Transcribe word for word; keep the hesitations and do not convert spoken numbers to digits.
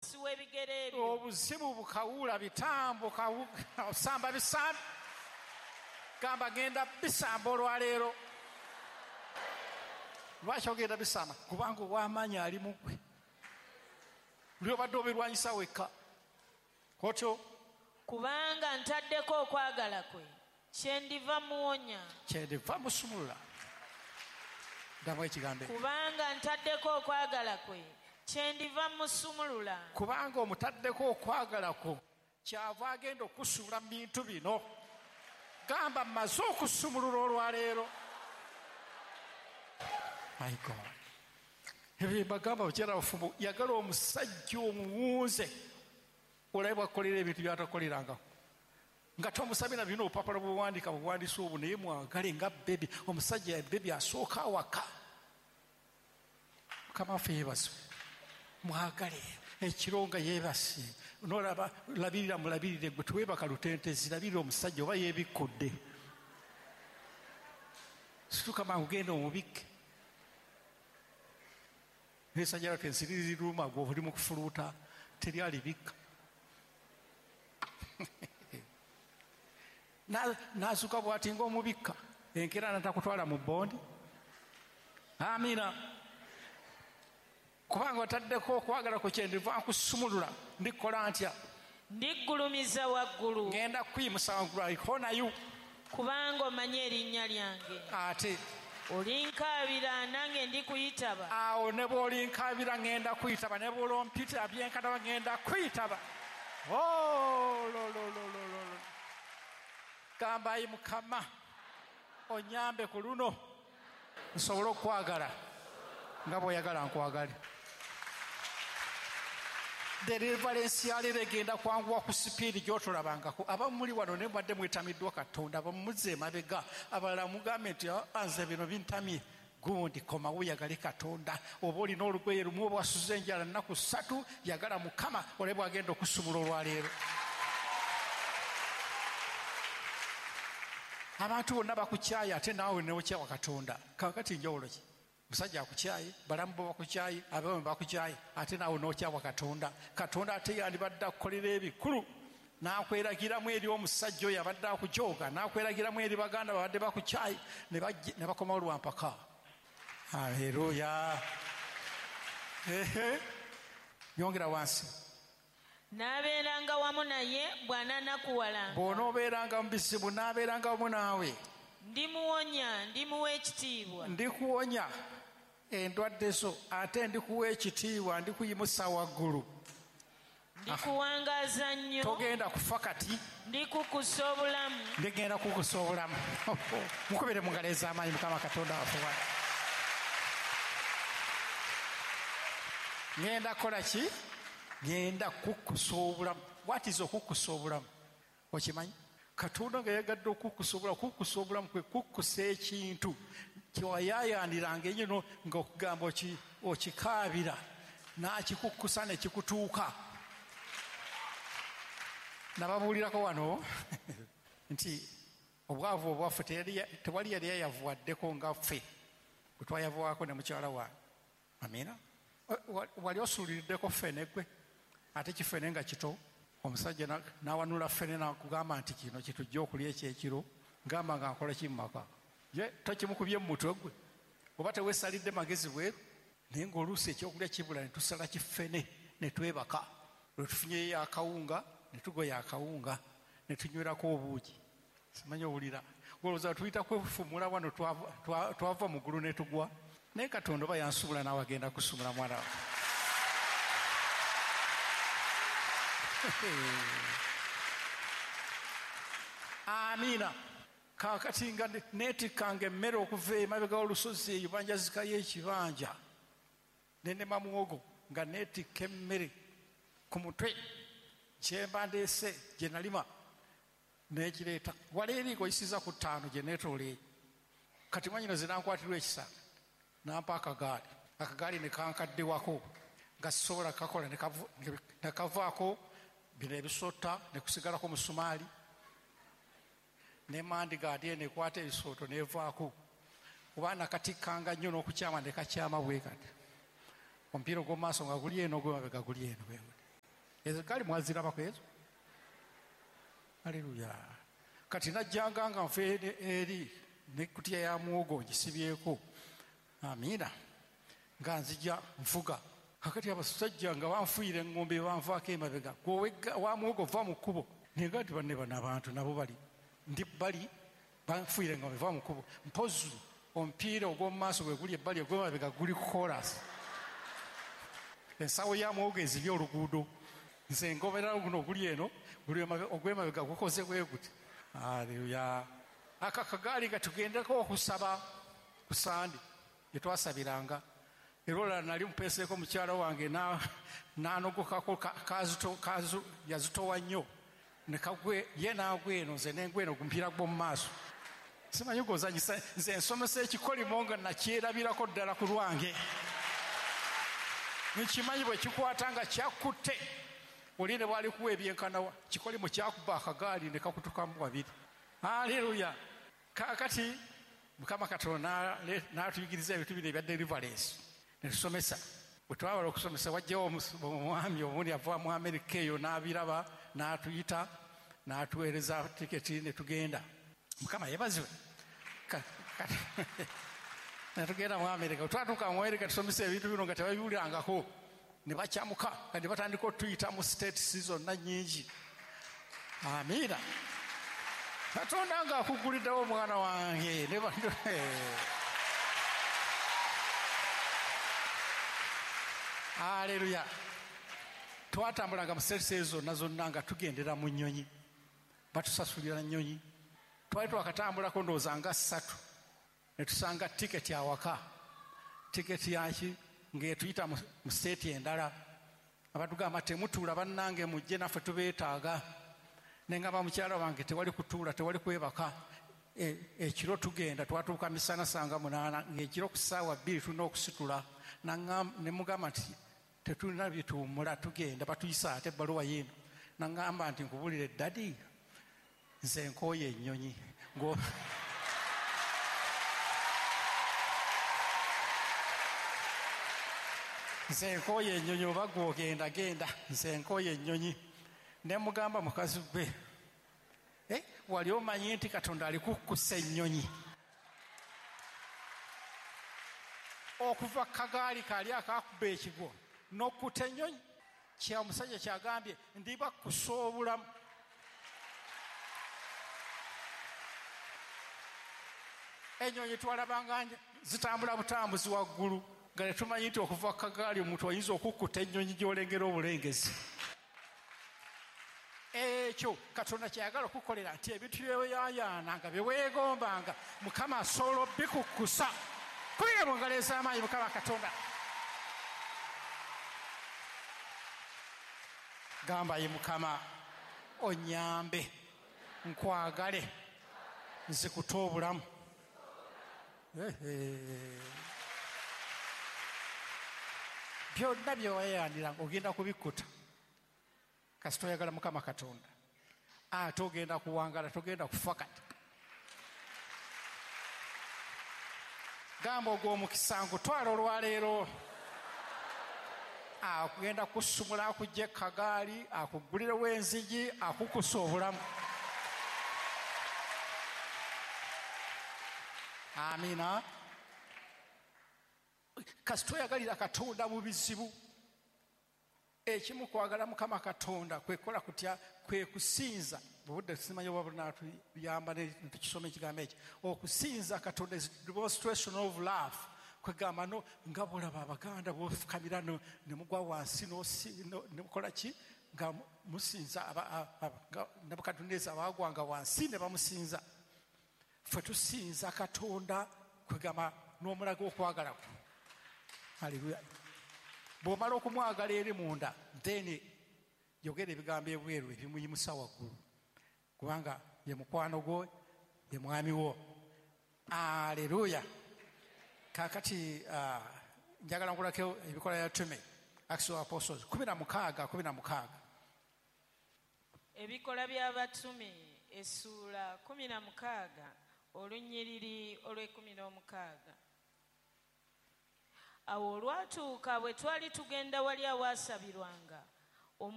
W'ebigere byo. Obuzibu bukawula bitambo osamba bisambi. Gamba genda bisamba olwaleero. Lwaki ogenda bisamba? Kubanga ow'amaanyi ali mu ggwe. Luli obadde obirwanyisa wekka. Otyo. Kubanga ntaddeko okwagala kwe, kyendiva muwonya. Kyendiva musumulula. Ddamu ekigambo ekyo. Kubanga ntaddeko okwagala kwe, kyendiva musumulula. Kubanga omutaddeko okwagala kwo, kyava agenda okusumulula mu bintu bino. Gamba mmaze okusumulula olwaleero. My God. Ebyo mbagamba bakyala bafumbo, yagala omusajja omuwunze olabe bw'akukolera ebintu by'atakukolerangako. Nga tomusabye na bino obupapula bw'owandiika buwandiise obwo, naye mwagale nga bebi. Omusajja ya bebi asooka awaka. Mukama waffe yeebazibwe. Mwagale ekiro nga yeebase, n'olaba labirira mulabirire gwe teweebaka lutentezi, labirira omusajja oba yeebikkudde. Situka mangu genda omubikke. N'esajja lwaffe ensiri ziruma gwe oli mu kufuluuta, teri alibikka. N'azuka bw'ati ng'omubikka, enkeera n'atakutwala mu bbondi. Amiina. Kubanga otaddeko okwagala ku kyendiva nkusumulula, ndikola ntya? Ndiggulumiza waggulu. Ngenda kuyimusa waggulu, I honor you. Kubanga omanyi erinnya lyange. Ate olinkaabira nange ndikuyitaba. Awo ne bw'olinkaabira ngenda kuyitaba, ne bw'olompita byenkataba ngenda kuyitaba. Oh, lo, lo, lo, lo, lo. Gamba ayi Mukama, onyambe ku luno nsobole okwagala nga bw'oyagala nkwagale. Deliverance yaleero egenda kwanguwa ku sipiidi gy'otolabangako. Abamu muli wano ne mubadde mwetamiddwa Katonda, abamu muzze emabega, abalala mugambe nti nze bino bintamye. Gundi komawo yagale Katonda. Oba olina olugoye lumu oba wasuze enjala nnaku ssatu, yagala Mukama olabe bw'agenda okusumula olwaleero. Abantu bonna bakukyaye ate naawe n'okyawa Katonda. Kaakati njawulo ki? Musajja akukyaye, balamu bo bakukyaye, abamu bakukyaye, ate naawe n'okyawa Katonda. Katonda ate yandibadde akukolera ebikulu, n'akweragiramu eri omusajja oyo abadde akujooga, n'akweragiramu eri baganda babadde bakukyaye, ne bakomawo lwa mpaka. Haleluya. Ehe. Yongera wansi. N'abeeranga wamu naye bw'anaanakuwalanga. Bw'onoobeeranga mu bizibu n'abeeranga wamu naawe. Ndimuwonya, ndimuwa ekitiibwa. Ndikuwonya endwadde zo, ate ndikuwa ekitiibwa, ndikuyimusa waggulu. Ndikuwangaaza nnyo. Togenda kufa kati. Ndikukusa obulamu. Ndigenda kukusa obulamu. Mukubire mu ngalo ez'amaanyi Mukama Katonda waffe. Ngenda kukola ki? Ngenda kukusa obulamu. What is okukusa obulamu? Okimanyi? Katonda nga yagadde okukusa obulamu, okukusa obulamu kwe kukusa ekintu kyewayaayaaniranga ennyo ng'okugamba okikaabira, n'akikukusa ne kikutuuka. Nababuulirako wano nti obwavu obwaffe tewali yali yayavuwaddeko nga ffe bwe twayavuwako ne mukyala wange. Amiina. Wali osuuliriddeko ffene gwe, ate kifene nga kito. Omusajja n'awanula ffene n'akugamba nti kino kitujja okulya ekyekiro, ngamba nga nkola ki mu maka? Ye tokimukubye mu mutwe gwe, oba teweesalidde magezi bweru. Naye ng'oluusi ekyokulya kibula ne tusala kifene ne twebaka. Lwe tufunyeyo akawunga ne tugoya akawunga ne tunywerako obuugi. Simanyi owulira. Olowooza tuyita kwefumula wano twava mu ggulu ne tugwa. Naye Katonda oba yansumula naawe agenda kusumula mwana we. Amiina. Kaakati nga neetikkanga emmere okuva emabega w'olusozi eyo banjazikayo ekibanja, ne nnema muwogo nga neetikka emmere ku mutwe kyemba ndeese gye nalima n'ekireeta. Wala eri ng'oyisiza ku ttaano gye neetoola eyo. Kati mwannyina ze nankwatirwa ekisa nampa akagaali, akagaali ne kankaddewako nga sisobola kakola, ne kavaako bino ebisota ne kusigalako musumaali ne mandigaadi eno ekwata ebisooto nevaako. Kuba nakatikkanga nnyo n'okukyama ne kakyama bwe kati. Omupiira ogw'omu maaso nga guli eno, ogw'emabega guli eno bwe guti. Ezo gaali mwazirabako ezo? Aleluya. Kati najjanga nga nfe eri nekutiya ya muwogo ngisibyeko. Amiina. Nga nzija nfuga. Kakati abasajja nga banfuuyira engombe banvaako emabega. Gwe wa muwogo va mu kkubo. Naye nti banne bano abantu nabo bali ndi bali banfuuyira engombe va mu kkubo. Mpozi omupiira ogw'omu maaso gwe guli ebbali ogw'emabega guli ku koolaasi. Ensawo ya muwogo ezibye oluguudo. Nze ngobera guno oguli eno guli ogw'emabega gukoze bwe guti. Aleluya. Aka kagaali nga tugendeko okusaba ku Sande gye twasabiranga. Era olala nali mupeeseeko mukyala wange n'anogokako yazitowa nnyo. Ne kagwe ye n'agwa eno nze n'engwa eno gumupiira gw'omu maaso. Simanyi gw'ozannyisa nze nsomesa ekikolimo nga nakyerabirako ddala ku lwange. Nkimanyi bwe kikwata nga kyakutte. Oli ne bw'ali kuwa ebyenkanawa kikolimo kyakuba akagaali ne kakutukamu wabiri. Aleluya. Kaakati Mukama Katonda n'atuyigiriza ebintu bino ebya deliverance. Ne tusomesa. Bwe twamala okusomesa wajjawo omwami omundi ava mu Amerika eyo n'abiraba n'atuyita n'atuweereza tiketi ne tugenda. Mukama yeebazibwe. Ne tugenda mu Amerika. Twatuuka mu Amerika tusomesa ebintu bino nga tebabiwulirangako. Ne bakyamuka kandi batandika otuyita mu states zonna nnyingi. Amiina. Katonda nga akuguliddewo omwana wange. Aleluya. Twatambulanga mu states ezo zonna zonna nga tugendera mu nnyonyi. Batusasulira nnyonyi. Twali twakatambulako ndowooza nga ssatu. Ne tusanga tiketi awaka. Tiketi yaki ng'etuyita mu state endala. Abatugamba temutuula bannange mujje naffe tubeetaaga. Ne ngamba mukyala wange tewali kutuula tewali kwebaka. Ekiro tugenda twatuuka misana sanga munaana ng'ekiro ku ssaawa bbiri tulina okusitula. Ne mugamba nti tetulina bye tuwummula tugenda batuyisa ate ebbaluwa yiino. Nangamba nti nkubulire ddadi nze nkooye ennyonyi. Nze nkooye ennyonyi oba gwe ogenda genda nze nkooye ennyonyi. Ne mugamba mukazi gwe eh, wali omanyi nti Katonda alikukkusa ennyonyi. Okuva kagaali kaali akakuba ekigwo n'okkuta ennyonyi. Kya omusajja kyagambye ndibakkusa obulamu. Ennyonyi twalabanga zitambula butambuzi waggulu nga tetumanyi nti okuva kagaali omuntu ayinza okukkuta ennyonyi gy'olengera obulengezi. Ekyo Katonda kyayagala okukolera nti ebintu byeweyayaana nga bye weegombanga Mukama asobola obikukkusa. Kubira mu ngalo ez'amaanyi Mukama Katonda. Gamba ye Mukama onnyambe nkwagale nzikute obulamu. Byonna byewayaaniranga ogenda kubikkuta. Kasita oyagala Mukama Katonda ate ogenda kuwangala togenda kufa kati. Gamba ogw'omukisa nkutwala olwaleero. Akugenda kusumula akujja ekagaali akugulirewo enzigi akukusa obulamu. Amiina. Kasita oyagalira Katonda mu bizibu. Ekimu kwagala Mukama Katonda kwekola kutya kwe kusinza. Obudde simanyi oba bunaatuyamba ne tukisoma ekigambo ekyo. Okusinza Katonda is demonstration of love. Kwegamba no nga bw'olaba Abaganda bw'ofukamira ne mugwa wansi ne mukola ki nga musinza Nebukadduneeza baagwanga wansi ne bamusinza. Ffe tusinza Katonda kwegamba n'omulaga okwagala kwe. Haleluya. Bw'omala okumwagala eri munda then yogera ebigambo ebweru ebimuyimusa waggulu kubanga ye mukwano gwo ye mwami wo. Aleluya. Kaakati uh, njagala nkulako ebikola bya Tume Acts of Apostles kumi na mukaaga kumi na mukaaga. Ebikola by'Abatume essuula kumi na mukaaga olunyiriri olw'ekkumi n'omukaaga. Awo olwatuuka bwe twali tugenda wali awaasabirwanga